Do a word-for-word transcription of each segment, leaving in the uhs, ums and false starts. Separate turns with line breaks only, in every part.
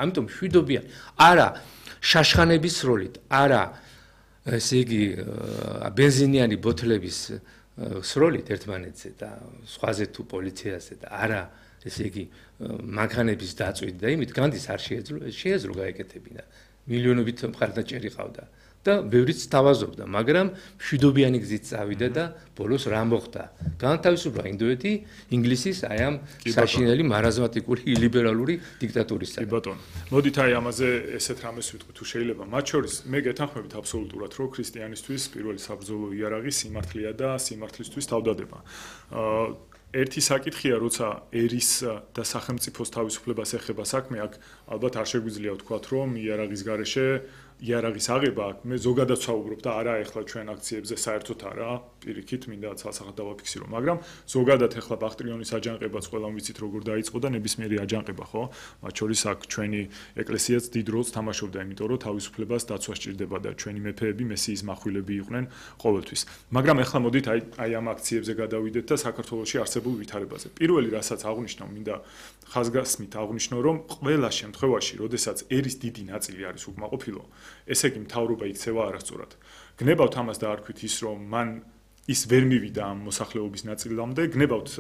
ამიტომ მშვიდობიანი არა შაშხანების როლით, არა ესე იგი ბენზინიანი ბოთლების სროლით ერთმანეთზე და სხვაზე თუ პოლიციაზე და არა ესე იგი მანქანების დაწვით და იმით განდის არ შეეძლო შეეძლო გაეკეთებინა მილიონობით მხარდაჭერი ყავდა და ბევრიც თავაზობდა მაგრამ მშვიდობიანი გზით წავიდა და ბოლოს რა მოხდა განთავისუფლდა ინდოეთი ინგლისის აი ამ საშინელი მარაზმატიკური ლიბერალური დიქტატურისგან.
კი ბატონო. მოდით აი ამაზე ესეთ რამეს ვიტყვი თუ შეიძლება. მათ შორის მე გეთანხმებით აბსოლუტურად რომ ქრისტიანისთვის პირველი საბრძოლო იარაღი სიმართლეა და სიმართლისთვის თავდადება. ერთი საკითხია როცა ერის და სახელმწიფოს თავისუფლებას ეხება საქმე აქ ალბათ არ შეგვიძლია ვთქვათ რომ იარაღის გარეშე იარაღის აღება აქ მე ზოგადად ვსაუბრობ და არა ეხლა ჩვენ აქციებზე საერთოდ არა პირიქით მინდა ცალსახად დავაფიქსირო მაგრამ ზოგადად ეხლა ბახტრიონის აჯანყებაც ყველამ ვიცით როგორ დაიწყო და ნებისმიერი აჯანყება ხო მათ შორის აქ ჩვენი ეკლესიაც დიდ როლს თამაშობდა იმიტომ რომ თავისუფლებას დაცვა სჭირდება და ჩვენი მეფეები მესიის מחვილები იყვნენ ყოველთვის მაგრამ ეხლა მოდით აი აი ამ აქციებზე გადავიდეთ და საქართველოში არსებულ ვითარებაზე პირველი რასაც აღნიშნავ მინდა ხაზგასმით აღნიშნო რომ ყველა შემთხვევაში როდესაც ერის დიდი ნაწილი არის უკმაყოფილო ესე იგი მთავრობა იქცევა არასწორად. გნებავთ ამას დაარქვით ის რომ მან ის ვერ მივიდა ამ მოსახლეობის ნაწილამდე, გნებავთ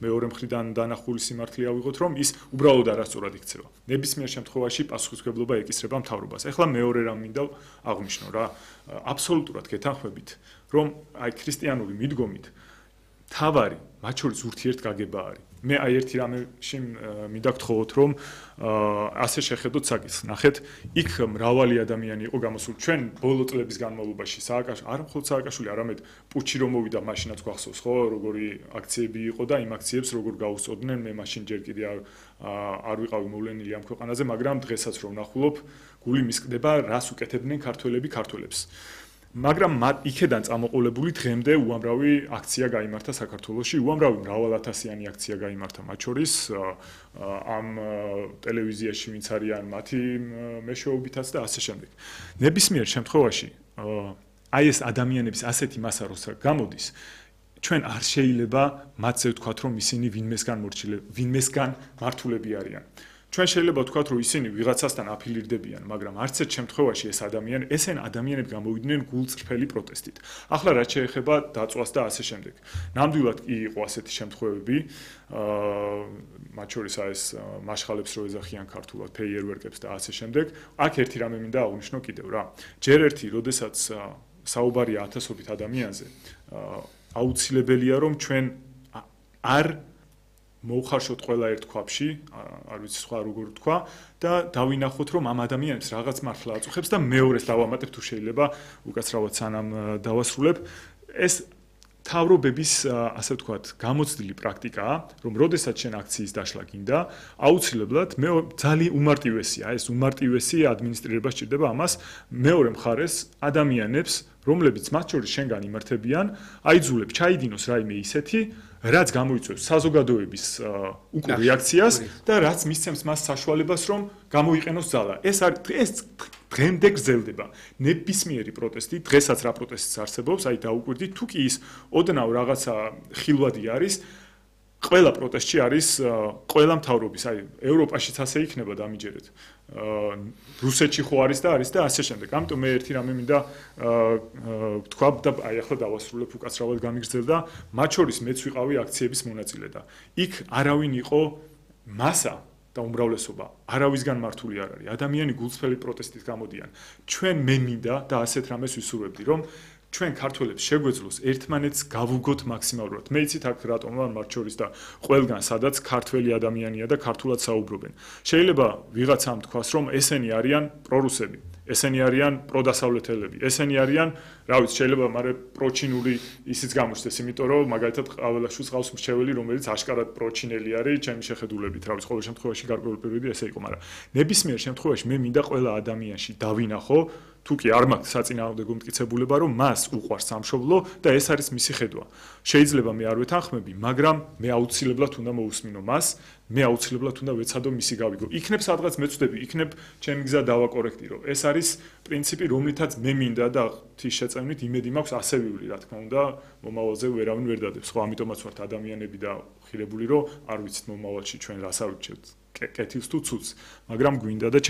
მეორე მხრიდან დანახული სიმართლე ავიღოთ რომ ის უბრალოდ არასწორად იქცევა. ნებისმიერ შემთხვევაში პასუხისმგებლობა ეკისრება მთავრობას. ეხლა მეორე რამ მინდა აღნიშნო რა, აბსოლუტურად გეთანხმებით რომ აი ქრისტიანული მიდგომით თავარი მათ შორის ურთიერთგაგება არის. მე აი ერთი რამეში მინდა გთხოვოთ რომ ასე შეხედოთ საკითხს. ნახეთ, იქ მრავალი ადამიანი იყო გამოსული. ჩვენ ბოლო წლების განმავლობაში სააკაშ არ მხოლოდ სააკაშვილი, არამედ პუჩი რომ მოვიდა, მაშინაც გვახსოვს, ხო, როგორი აქციები იყო და იმ აქციებს როგორ გაუსწორდნენ. მე მაშინ ჯერ კიდე არ არ ვიყავი მოვლენილი ამ ქვეყანაზე, მაგრამ დღესაც რომ ვნახულობ, გული მისკდება, რას უკეთებდნენ ქართველები ქართველებს. მაგრამ იქედან წამოყოლებული დღემდე უამრავი აქცია გაიმართა საქართველოში, უამრავი მრავალათასიანი აქცია გაიმართა მათ შორის ამ ტელევიზიაში ვინც არიან მათი მეშვეობითაც და ასე შემდეგ. ნებისმიერ შემთხვევაში აი ეს ადამიანების ასეთი მასა როცა გამოდის, ჩვენ არ შეიძლება მათზე ვთქვათ რომ ისინი ვინმესგან მორჩილები, ვინმესგან მართულები არიან. ჩვენ შეიძლება ვთქვათ რომ ისინი ვიღაცასთან აფილირდებიან, მაგრამ არც ერთ შემთხვევაში ეს ადამიანი, ესენ ადამიანები გამოვიდნენ გულწრფელი პროტესტით. ახლა რაც შეეხება დაწვას და ასე შემდეგ. ნამდვილად კი იყო ასეთი შემთხვევები, მათ შორის ეს მაშხალებს რო ეძახიან ქართულად, ფეიერვერკებს და ასე შემდეგ. აქ ერთი რამე მინდა აღვნიშნო კიდევ რა. ჯერ ერთი, როდესაც საუბარია ათასობით ადამიანზე, აუცილებელია რომ ჩვენ არ მოვხარშოთ ყველა ერთ ქვაბში, არ ვიცი სხვა როგორ თქვა და დავინახოთ რომ ამ ადამიანებს რაღაც მართლა აწუხებს და მეორეს დავამატებ თუ შეიძლება უკაცრავად სანამ დავასრულებ ეს თავრობების ასე ვთქვათ გამოცდილი პრაქტიკაა რომ როდესაც შენ აქციის დაშლა გინდა აუცილებლად მე ძალიან უმარტივესია ეს უმარტივესი ადმინისტრირება სჭირდება ამას მეორე მხარეს ადამიანებს რომლებიც მათ შორის შენგან იმართებიან აიძულებ ჩაიდინოს რაიმე ისეთი რაც გამოიწვევს საზოგადოების უკუ რეაქციას და რაც მისცემს მას საშუალებას რომ გამოიყენოს ძალა. ეს არის ეს დღემდე გრძელდება. ნებისმიერი პროტესტი, დღესაც რა პროტესტიც არსებობს, აი დაუკვირდით, თუ კი ის ოდნავ რაღაცა ხილვადი არის, ყველა პროტესტში არის ყველა მთავრობის, აი ევროპაშიც ასე იქნება დამიჯერეთ. რუსეთში ხო არის და არის და ასე შემდეგ. ამიტომ მე ერთი რამე მინდა ვთქვა და აი ახლა დავასრულებ უკაცრავად გამიგრძელდა, მათ შორის მეც ვიყავი აქციების მონაწილე და იქ არავინ იყო მასა და უმრავლესობა არავისგან მართული არ არის. ადამიანი გულწრფელი პროტესტით გამოდიან. ჩვენ მე მინდა და ასეთ რამეს ვისურვებდი, რომ ჩვენ ქართველებს შეგვეძლოს ერთმანეთს გავუგოთ მაქსიმალურად. მე იცით აქ რატომ ვარ მათ შორის და ყველგან სადაც ქართველი ადამიანია და ქართულად საუბრობენ. შეიძლება ვიღაცამ თქვას რომ ესენი არიან პრორუსები, ესენი არიან პროდასავლეთელები, ესენი არიან, რა ვიცი, შეიძლება მაგრამ პროჩინული ისიც გამოჩნდეს, იმიტომ რომ მაგალითად ყაველაშვილს ყავს მრჩეველი, რომელიც აშკარად პროჩინელი არის, ჩემი შეხედულებით, რა ვიცი, ყოველ შემთხვევაში გარკვეული პერიოდი ესე იყო, მაგრამ ნებისმიერ შემთხვევაში მე მინდა ყველა ადამიანში დავინახო თუ კი არ მაქვს საწინააღმდეგო მტკიცებულება, რომ მას უყვარს სამშობლო და ეს არის მისი ხედვა. შეიძლება მე არ ვეთანხმები, მაგრამ მე აუცილებლად უნდა მოусმინო მას, მე აუცილებლად უნდა ვეცადო მისი გავიგო. იქნებ სადღაც მეწდები, იქნებ ჩემი გზა დავაკორექტირო. ეს არის პრინციპი, რომლითაც მე მინდა და ღვთის შეწევნით იმედი მაქვს ასევიული, რა თქმა უნდა, მომავალზე ვერავინ ვერ დადებს. ხო, ამიტომაც ვართ ადამიანები და ხილებული, რომ არ ვიცით მომავალში ჩვენ რას ავირჩევთ, კეთილს თუ ცუდს, მაგრამ გვინდა და